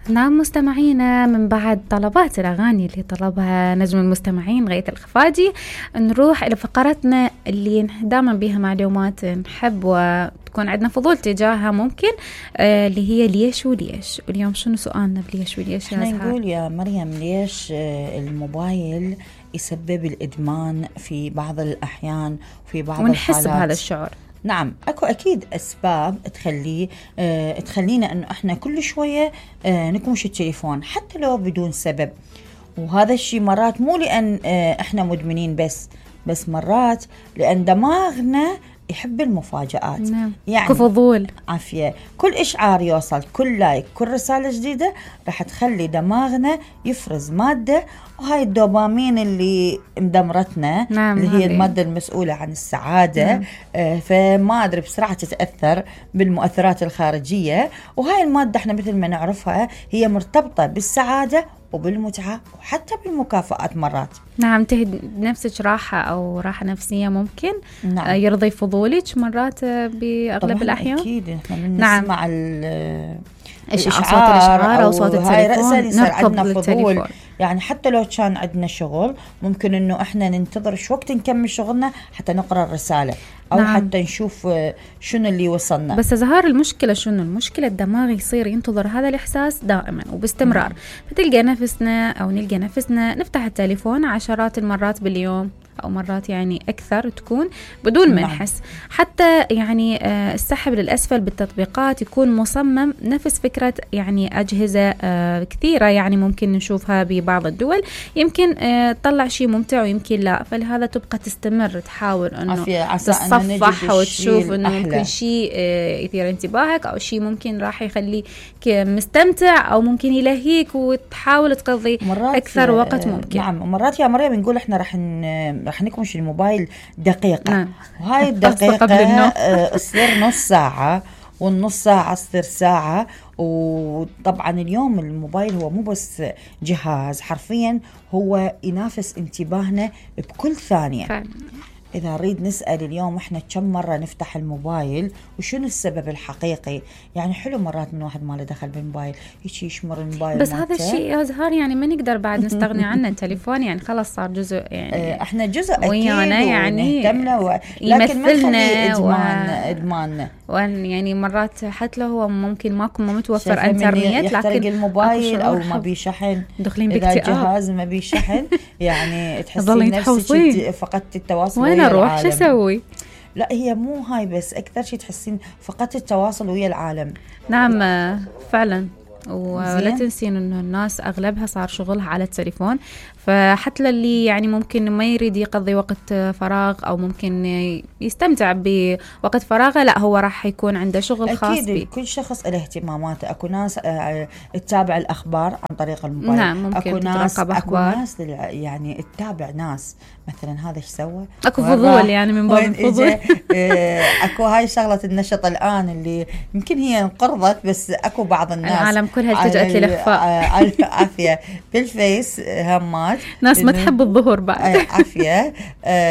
نعم مستمعينا، من بعد طلبات الأغاني اللي طلبها نجم المستمعين غيث الخفاجي، نروح إلى فقرتنا اللي دائما بها معلومات نحب وتكون عندنا فضول تجاهها ممكن، اللي هي ليش وليش. واليوم شنو سؤالنا بليش وليش؟ احنا نقول يا مريم ليش الموبايل يسبب الإدمان في بعض الأحيان وفي بعض ونحس الحالات بهذا الشعور. نعم اكو اكيد اسباب تخلينا انه احنا كل شويه نكمش التليفون حتى لو بدون سبب. وهذا الشيء مرات مو لان احنا مدمنين بس مرات لان دماغنا يحب المفاجآت. نعم. يعني كفضول عافية، كل إشعار يوصل، كل لايك، كل رسالة جديدة راح تخلي دماغنا يفرز مادة، وهاي الدوبامين اللي مدمرتنا. نعم. اللي هي المادة المسؤولة عن السعادة. نعم. فما أدري بسرعة تتأثر بالمؤثرات الخارجية، وهاي المادة احنا مثل ما نعرفها هي مرتبطة بالسعادة وبالمتعة وحتى بالمكافآت مرات. نعم، نفسك راحة أو راحة نفسية ممكن. نعم. يرضي فضولك مرات بأغلب الأحيان. أكيد احنا نسمع صوت الإشعار أو صوت التليفون نركض للتليفون. يعني حتى لو كان عندنا شغل ممكن إنه احنا ننتظر شو وقت نكمل شغلنا حتى نقرأ الرسالة أو نعم. حتى نشوف شنو اللي وصلنا. بس ظهر المشكلة شنو؟ المشكلة الدماغ يصير ينتظر هذا الإحساس دائما وباستمرار. فتلقى نفسنا أو نلقى نفسنا نفتح التليفون عشرات المرات باليوم أو مرات يعني أكثر تكون بدون ما نحس. حتى يعني السحب للأسفل بالتطبيقات يكون مصمم نفس فكرة يعني أجهزة كثيرة يعني ممكن نشوفها ببعض الدول، يمكن تطلع شيء ممتع ويمكن لا، فلهذا تبقى تستمر تحاول أنه تصفح وتشوف أنه ممكن شيء يثير انتباهك أو شيء ممكن راح يخليك مستمتع أو ممكن يلهيك وتحاول تقضي أكثر وقت ممكن. نعم، مرات يا مريم نقول إحنا راح نكمش الموبايل دقيقة. نعم. وهاي الدقيقة تصير نص ساعة، والنص ساعة تصير ساعة. وطبعا اليوم الموبايل هو مو بس جهاز، حرفيا هو ينافس انتباهنا بكل ثانية. إذا نريد نسأل اليوم إحنا كم مرة نفتح الموبايل وشنو السبب الحقيقي، يعني حلو مرات من واحد ما له دخل بالموبايل يشمر الموبايل بس هذا الشيء يا زهار يعني ما نقدر بعد نستغني عنه. التليفون يعني خلاص صار جزء، يعني إحنا جزء أكيد يعني ونهتمنا لكن ما نخليه إدمان. يعني مرات حتى لو هو ممكن ماكو متوفر انترنت لكن الموبايل أو ما بي شحن، إذا الجهاز ما بي شحن يعني تحسين نفسك فقدت التواصل. أروح شو أسوي؟ لا هي مو هاي بس، أكثر شيء تحسين فقدت التواصل ويا العالم. نعم فعلا. ولا تنسين إنه الناس أغلبها صار شغلها على التليفون، فحتى اللي يعني ممكن ما يريد يقضي وقت فراغ أو ممكن يستمتع بوقت فراغه، لا هو راح يكون عنده شغل خاص أكيد بيه. كل شخص له اهتماماته. أكو ناس تتابع الأخبار عن طريق الموبايل. نعم ممكن أكو ناس يعني تتابع ناس مثلا هذا ايش سوى، أكو فضول يعني من باب الفضول. أكو هاي شغلة النشط الآن اللي يمكن هي انقرضت، بس أكو بعض الناس العالم كلها التجأت للإخفاء. عافية بالفيس همات ناس ما تحب الظهور بعد. عافية.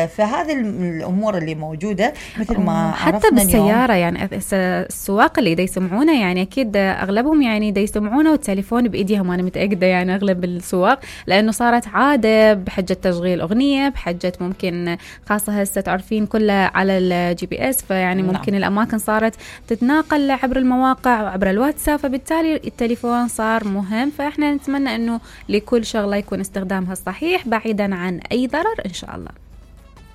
فهذه الأمور اللي موجودة مثل ما حتى بالسيارة يعني السواق اللي دا يسمعونه يعني أكيد أغلبهم يعني دا يسمعونه والتليفون بإيديهم. أنا متأكدة يعني أغلب السواق، لأنه صارت عادة بحجة تشغيل أغنية، بحجة ممكن خاصة هسه تعرفين كلها على الGPS، فيعني ممكن الأماكن صارت تتناقل عبر المواقع وعبر الواتساب، فبالتالي التليفون صار مهم. فإحنا نتمنى أنه لكل شغلة يكون استخدامها صحيح بعيدا عن أي ضرر إن شاء الله.